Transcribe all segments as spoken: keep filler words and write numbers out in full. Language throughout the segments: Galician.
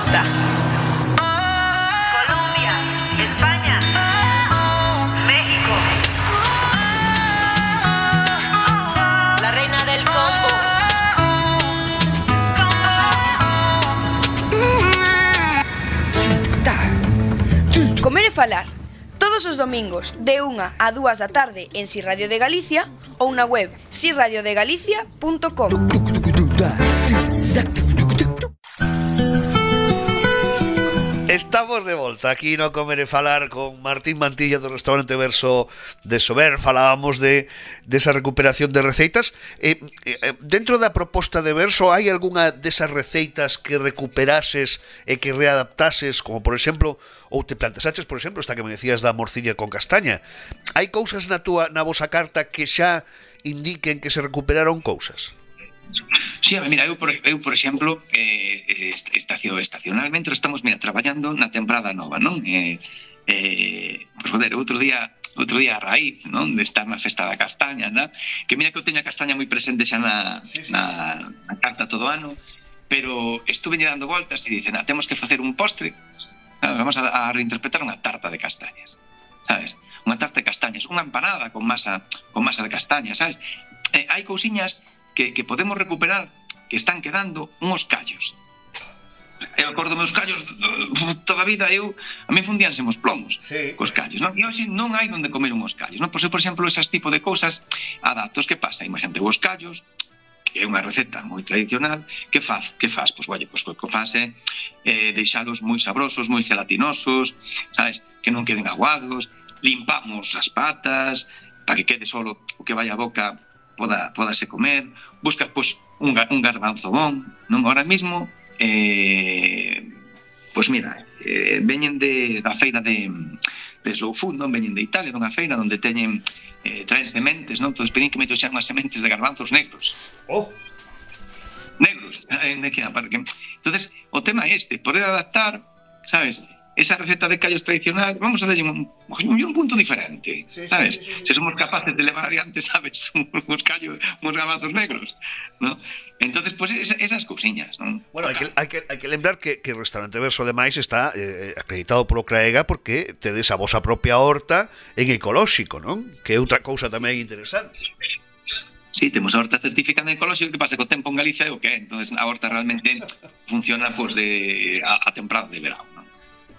volta. Colombia, España, México. La reina del combo. Comer e falar. Todos os domingos, de unha a dúas da tarde en Si Radio de Galicia ou na web si radio de galicia punto com. Estamos de volta aquí no Comer e Falar con Martín Mantilla do restaurante Verso de Sober. Falábamos de desa recuperación de receitas. Eh, eh, dentro da proposta de Verso, hai algunha desas receitas que recuperases e que readaptases, como por exemplo, ou te planteaches, por exemplo, esta que me decías da morcilla con castaña? Hai cousas na túa na vosa carta que xa indiquen que se recuperaron cousas? Sí, a ver, mira, eu por, eu, por exemplo, eh, estacio, estacionalmente estamos, mira, traballando na temporada nova, non? Eh, eh, pues, joder, outro día, outro día a raíz, non? De estar na festa da castaña, non? Que mira que eu teño a castaña moi presente xa na, sí, sí, na, na carta todo ano, pero estuve dando voltas e dicen, ah, temos que facer un postre, vamos a, a reinterpretar unha tarta de castañas, sabes? Unha tarta de castañas, unha empanada con masa, con masa de castañas, sabes? Eh, hai cousiñas que, que podemos recuperar que están quedando uns callos. Eu acordo meus callos toda a vida, eu a mí fundíanse os plomos, sí, cos callos, non? E hoxe non hai onde comer uns callos, non? Por ser, por exemplo, esas tipo de cousas adaptos, que pasa? Imagínate, os callos, que é unha receta moi tradicional, que faz? Que faz? Pois, oye, pois, o que faz é eh, deixalos moi sabrosos, moi gelatinosos, sabes? Que non queden aguados, limpamos as patas, para que quede solo o que vai a boca poda, podase comer, busca pois, un, un garbanzo bon, non? Ahora mismo, eh, pois mira, eh, veñen de, da feira de, de Slow Food, non? Veñen de Italia, dunha feira onde teñen, eh, traen sementes, non? Entón pedín que me trouxeran unhas sementes de garbanzos negros. Oh! Negros, eh, que, que... Entonces, o tema é este, poder adaptar, sabes, esa receta de callos tradicional, vamos a darlle un, un punto diferente, sí, sabes? Sí, sí, sí, sí. Se somos capaces de levar adiante, sabes, uns callos, uns garbanzos negros, ¿no? Entonces, pues esa, esas cousiñas, ¿no? Bueno, hai que, hai que, hai que lembrar que, que o Restaurante Verso, ademais, está eh, acreditado polo CRAEGA porque tedes a vosa propia horta en ecolóxico, non? Que é outra cousa tamén interesante. Sí, temos a horta certificada en ecolóxico, que pasa co tempo en Galicia é o que é. Entonces, a horta realmente funciona pues, de, a, a temporada de verão, ¿no?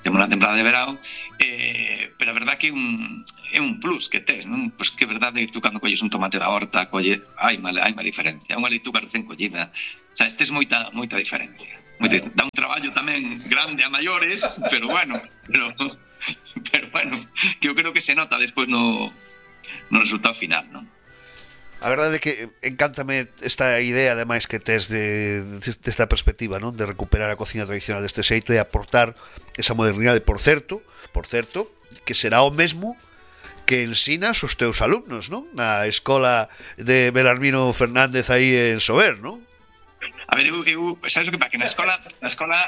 Temos na temporada de verão, eh, pero a verdad que é un, é un plus que tes, non? Pois que é verdade que tú cando colles un tomate da horta, colle, hai má, hai má diferencia, unha leituga recén collida, o sea, tes moita, moita diferencia. Moita, dá un traballo tamén grande a maiores, pero bueno, pero, pero bueno, que eu creo que se nota despois no, no resultado final, non? A verdade é que encántame esta idea, ademais, que tes de, desta perspectiva, non? De recuperar a cociña tradicional deste xeito e aportar esa modernidade, por certo, por certo, que será o mesmo que ensinas os teus alumnos, non? Na escola de Belarmino Fernández aí en Sober, non? A ver, eu, eu sabes o que pasa? Que na escola, na escola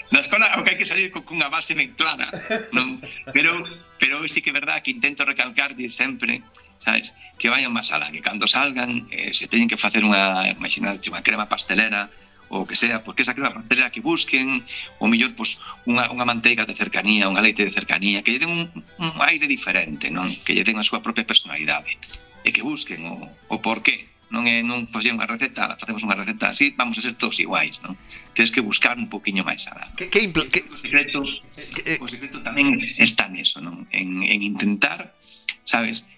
na escola o que hai que salir cunha base ben clara, non? Pero, pero sí que é verdade que intento recalcarlle sempre, sabes, que vayan máis alá, que cando salgan eh, se teñen que facer unha, imaginate, unha crema pastelera ou que sea, porque esa crema pastelera que busquen, ou mellor, pues, unha, unha manteiga de cercanía, unha leite de cercanía, que lle den un, un aire diferente, non? Que lle den a súa propia personalidade, e que busquen o, o porqué. Non é, non, pois, unha receta, facemos unha receta así, vamos a ser todos iguais, non? Tens que buscar un poquinho máis alá. Que, que impl- que... O secreto, o secreto tamén está neso, non? En, en intentar, sabes,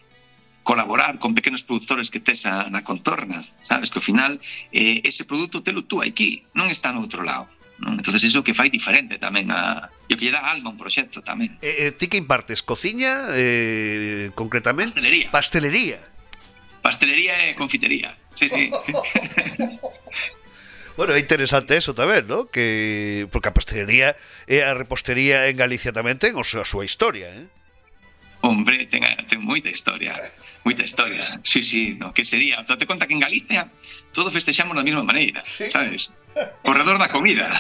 colaborar con pequenos produtores que tes a, na contorna, sabes, que ao final eh, ese produto telo tú aquí, non está no outro lado, non? Entonces iso que fai diferente tamén a, e o que lle dá alma a un proxecto tamén. Eh, eh, ti que impartes? Cociña, eh, concretamente? Pastelería. Pastelería. Pastelería e confitería, sí, sí. Bueno, é interesante eso tamén, ¿no? Que porque a pastelería e a repostería en Galicia tamén ten a súa historia, eh? Hombre, ten, ten moita historia, moita historia. Sí, sí, no, que sería, date conta que en Galicia todo festexamos da mesma maneira, ¿sí? Sabes? Corredor da comida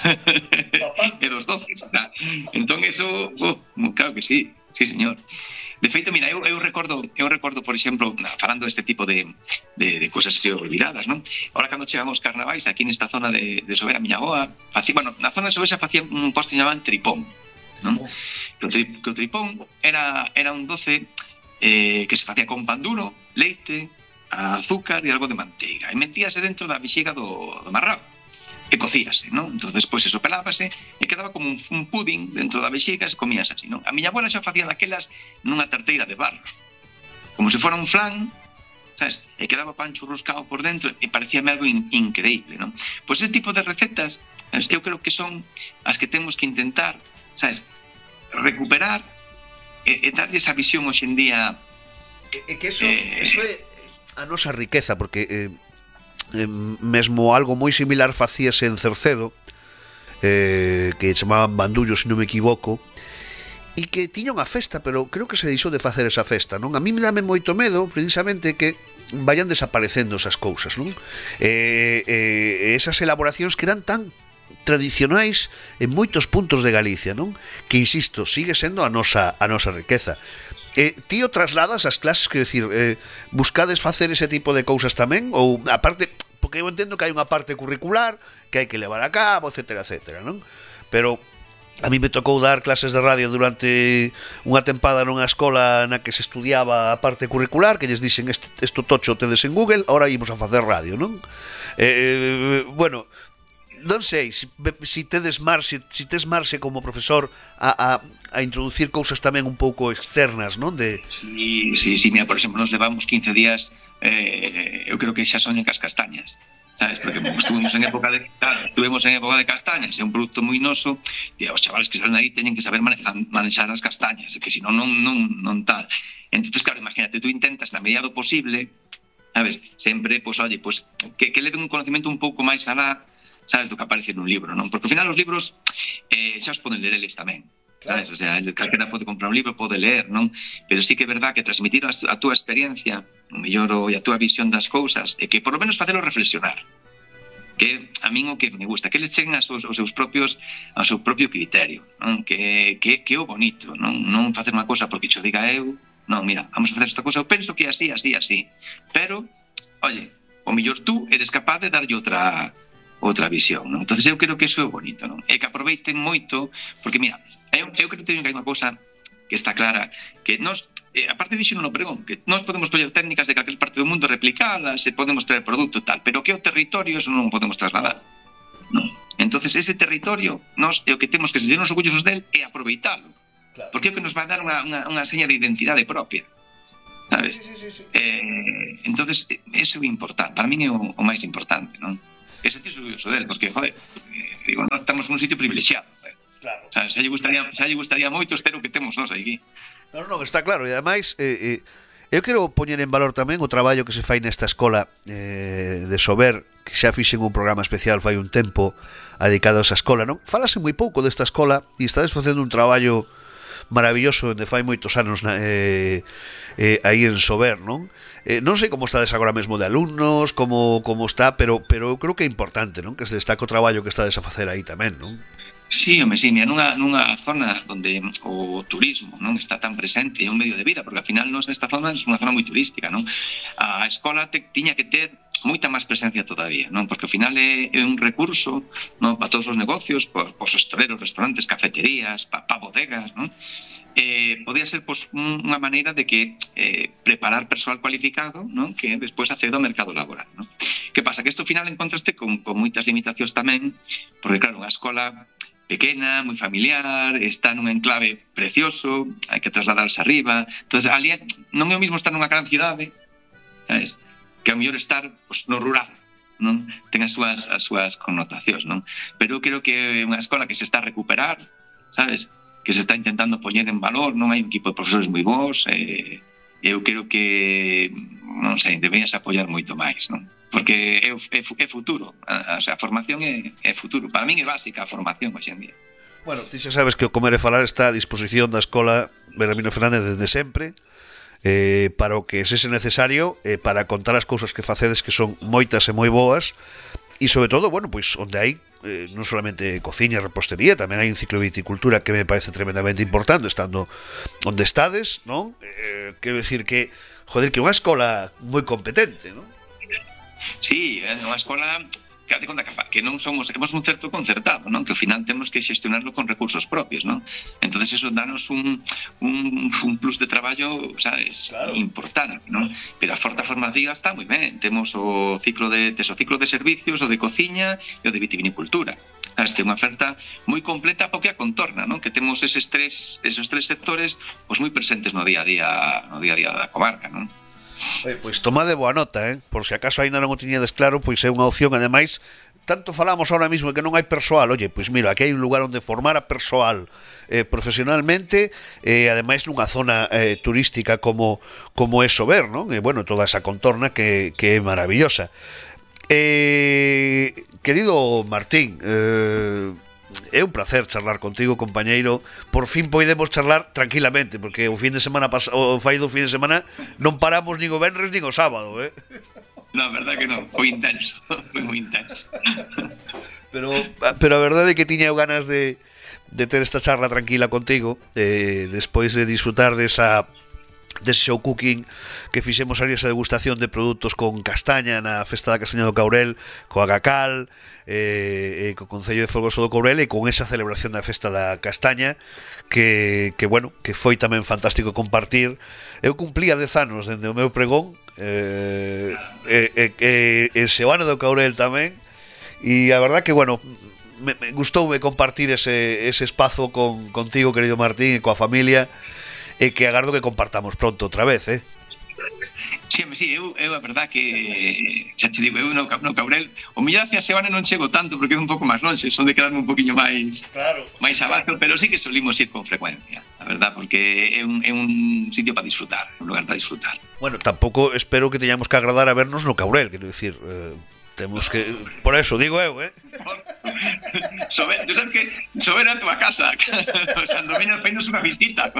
e dos doces, ¿no? Entón eso, oh, claro que sí, sí, señor. De feito, mira, eu, eu recordo, eu recordo, por exemplo, falando deste tipo de, de, de cousas así olvidadas, non? Ahora, cando chegamos carnavais, aquí nesta zona de, de Sober, a miña avoa, facía, bueno, na zona de Sober xa facía un posto que llamaban tripón, non? Que o, tri, que o tripón era, era un doce eh, que se facía con pan duro, leite, azúcar e algo de manteiga. E metíase dentro da vexiga do, do marrao. E cocíase, non? Entón, despois eso pelábase e quedaba como un, un pudding dentro da vexiga e comías así, non? A miña abuela xa facía daquelas nunha tarteira de barro, como se fora un flan, sabes? E quedaba pan churruscado por dentro e parecíame algo in, increíble, non? Pois ese tipo de recetas, sabes? Eu creo que son as que temos que intentar, sabes? Recuperar e, e darlle esa visión hoxe en día. E, e que eso, eh, eso é a nosa riqueza, porque... Eh... Eh, mesmo algo moi similar facíase en Cercedo, eh, que chamaban bandullo, se non me equivoco, e que tiña unha festa, pero creo que se deixou de facer esa festa, non? A mí me dame moito medo precisamente que vayan desaparecendo esas cousas, non? Eh, eh, esas elaboracións que eran tan tradicionais en moitos puntos de Galicia, non? Que, insisto, sigue sendo a nosa, a nosa riqueza. Eh, ti o trasladas ás clases, quero dicir, eh, buscades facer ese tipo de cousas tamén, ou aparte, porque eu entendo que hai unha parte curricular que hai que levar a cabo, etcétera, etcétera, non? Pero a mí me tocou dar clases de radio durante unha tempada nunha escola na que se estudiaba a parte curricular, que lles dixen isto tocho tedes en Google, ahora ímos a facer radio, non? Eh, bueno, non sei, si, si tedes marxe, si tes marxe como profesor a, a, a introducir cousas tamén un pouco externas, non? De... Sí, sí, sí, mira, por exemplo, nos levamos quince días, eh, eu creo que xa soñen cas castañas, sabes? Porque estuvimos en época de, claro, estuvimos en época de castañas, é un produto moi noso, e os chavales que salen aí teñen que saber manejar, manexar as castañas, que senón non, non, non tal. Entonces, claro, imagínate, tú intentas na medida do posible, sabes? Sempre, pois, pues, oye, pois, pues, que, que le den un conocimiento un pouco máis alá, sabes, do que aparece nun libro, non? Porque ao final os libros eh, xa os poden ler eles tamén, claro. Sabes? O sea, calquera pode comprar un libro, pode ler, non? Pero sí que é verdad que transmitir a, a túa experiencia, o mellor, e a túa visión das cousas, e que por lo menos facelo reflexionar, que a min o que me gusta, que eles cheguen aos, aos seus propios, ao seu propio criterio, non? Que, que, que é o bonito, non? Non facer unha cosa porque xo diga eu, non, mira, vamos a facer esta cosa, eu penso que é así, así, así, pero, oye, o mellor tú eres capaz de darlle outra outra visión, non? Entonces eu creo que eso é bonito, non? E que aproveiten moito, porque mira, eu, eu creo que teño que hai unha cousa que está clara, que nós, eh, aparte dixo no pregón, que nós podemos coller técnicas de calquer parte do mundo, replicalas, e podemos traer produto tal, pero que o territorio eso non podemos trasladar, non? Entonces ese territorio, nós é o que temos que sentirnos orgullosos del e aproveitalo, claro. Porque é o que nos vai dar unha, unha, unha seña de identidade propia, sabes? Sí, sí, sí, sí. Eh, entonces, eso é importante, para min é o, o máis importante, non? E sentirse orgulloso del, porque, joder, digo, nós estamos nun sitio privilexiado, eh. Claro. O sea, xa lle gustaría, xa lle gustaría moito ter o que temos nós aquí. Non, non, está claro, e ademais eh, eh, eu quero poñer en valor tamén o traballo que se fai nesta escola eh, de Sober, que xa fixen un programa especial fai un tempo dedicado a esa escola, non? Falase moi pouco desta escola e estades facendo un traballo maravilloso onde fai moitos anos eh, eh, aí en Sober, non? Eh, non sei como estades agora mesmo de alumnos, como, como está, pero, pero eu creo que é importante, non? Que se destaque o traballo que estades a facer aí tamén, non? Sí, home, sí, mira, nunha, nunha zona onde o turismo non está tan presente, é un medio de vida, porque ao final nos nesta zona é unha zona moi turística, non? A escola te, tiña que ter moita máis presencia todavía, non? Porque ao final é, é un recurso, non, para todos os negocios, para os hosteleros, restaurantes, cafeterías, para pa bodegas, non? Eh, podía ser pois, unha maneira de que eh, preparar persoal cualificado, non? Que despois acceda ao mercado laboral, non? Que pasa? Que isto ao final encontraste con, con moitas limitacións tamén, porque claro, unha escola pequena, moi familiar, está nun enclave precioso, hai que trasladarse arriba, entonces ali non é o mismo estar nunha gran cidade, sabes? Que é o mellor estar pues, no rural, non? Ten as súas, as súas connotacións, non? Pero eu creo que é unha escola que se está a recuperar, sabes? Que se está intentando poñer en valor, non hai un equipo de profesores moi bons, e eu creo que, non sei, deberías apoiar moito máis, non? Porque é, é, é futuro, a, o sea, a formación é, é futuro. Para min é básica a formación hoxe en día. Bueno, ti xa sabes que o Comer e Falar está a disposición da Escola Belarmino Fernández desde sempre, eh, para o que sese necesario, eh, para contar as cousas que facedes, que son moitas e moi boas, e sobre todo, bueno, pois onde hai eh, non solamente cociña e repostería, tamén hai un ciclo de viticultura que me parece tremendamente importante, estando onde estades, non? Eh, quero decir que, joder, que é unha escola moi competente, non? Sí, é unha escola que de conta que non somos, temos un certo concertado, non? Que ao final temos que xestionarlo con recursos propios, non? Entonces eso danos un, un, un plus de traballo, sabes, claro, importante, non? Pero a oferta formativa está moi ben. Temos o ciclo de, tes o ciclo de servicios, o de cociña e o de vitivinicultura. Sabes, que é unha oferta moi completa porque a contorna, non? Que temos eses tres, esos tres sectores pois moi presentes no día a día, no día a día da comarca, non? Oye, pois tomade boa nota, eh? Por se acaso ainda non o tiñedes claro, pois é unha opción, ademais, tanto falamos ahora mismo que non hai persoal, oye, pois mira, aquí hai un lugar onde formar a persoal eh, profesionalmente, e eh, ademais nunha zona eh, turística como como é Sober, non? E bueno, toda esa contorna que, que é maravillosa. Eh, querido Martín, eh, é un placer charlar contigo, compañeiro. Por fin podemos charlar tranquilamente, porque o fin de semana pas- o fai do fin de semana non paramos nin o venres nin o sábado, eh? Non, verdad que non, foi intenso, foi moi intenso. Pero pero a verdade é que tiña ganas de de ter esta charla tranquila contigo, eh, despois de disfrutar desa dese show cooking que fixemos ali, esa degustación de produtos con castaña na Festa da Castaña do Caurel, coa Gacal, eh, e co Concello de Folgoso do Caurel, e con esa celebración da Festa da Castaña que, que bueno, que foi tamén fantástico compartir. Eu cumplía dez anos dende o meu pregón, eh, e, e, e, e o ano do Caurel tamén, e a verdad que, bueno, me, me gustoume compartir ese, ese espazo con, contigo, querido Martín, e coa familia, e que agardo que compartamos pronto outra vez, eh? Sí, sí, eu, eu a verdad que xa te digo, eu no, no Caurel o mellor hacia Sebane non chego tanto porque é un pouco máis longe, son de quedarme un poquinho máis claro, máis abaixo, pero sí que solimos ir con frecuencia, a verdad, porque é un, é un sitio para disfrutar, un lugar para disfrutar. Bueno, tampouco espero que teñamos que agradar a vernos no Caurel, quero dicir, eh, temos que, por eso digo eu, eh? Sober, tú sabes que Sober a tua casa, o San Domingo feinos unha visita.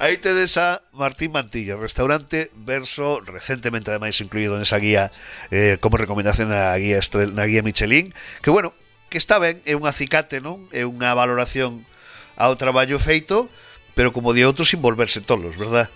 Aí tedes a Martín Mantilla, restaurante Verso, recentemente ademais incluído nesa guía eh, como recomendación na guía Estrel, na guía Michelin, que bueno, que está ben, é un acicate, non? É unha valoración ao traballo feito, pero como di outros, sin volverse tolos, verdad?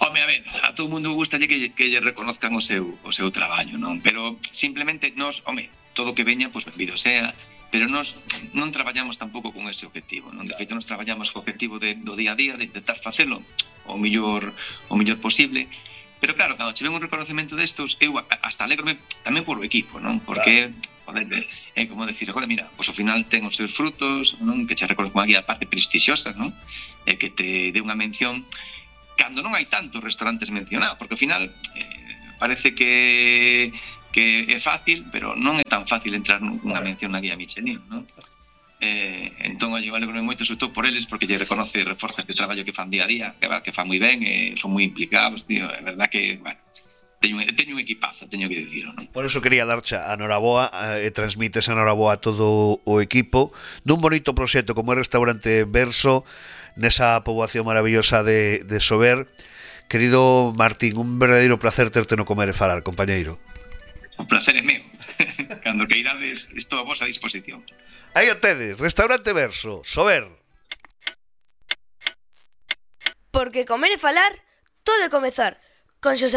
Home, a ver, a todo mundo gustalle que, que lle reconozcan o seu, o seu traballo, non? Pero simplemente nos, home, todo que veña, pois pues, benvido sea, pero nos non traballamos tampouco con ese objetivo, non? De feito, nos traballamos co objetivo de, do día a día, de intentar facelo o mellor, o mellor posible, pero claro, cando che ven un reconocemento destos, eu hasta alegrome tamén por o equipo, non? Porque, joder, é como decir, joder, mira, pois ao final ten os seus frutos, non? Que che reconozco aquí a parte prestixiosa, non? E que te dé unha mención cando non hai tantos restaurantes mencionados, porque ao final eh, parece que que é fácil, pero non é tan fácil entrar nunha mención na guía Michelin, non? Eh, entón, eu alegro moito, sobre todo por eles, porque lle reconoce e reforza este traballo que fan día a día, que, que fan moi ben, e son moi implicados, tío, é verdad que, bueno, teño, teño un equipazo, teño que dicirlo, non? Por eso quería darche a noraboa e transmites a noraboa a todo o equipo dun bonito proxecto como é Restaurante Verso nesa poboación maravillosa de, de Sober. Querido Martín, un verdadeiro placer terte no comer e falar, compañeiro. O placer é meu. Cando que irades, estou a vosa disposición. Aí o tedes, Restaurante Verso, Sober. Porque comer e falar, todo é comezar. Con Xosé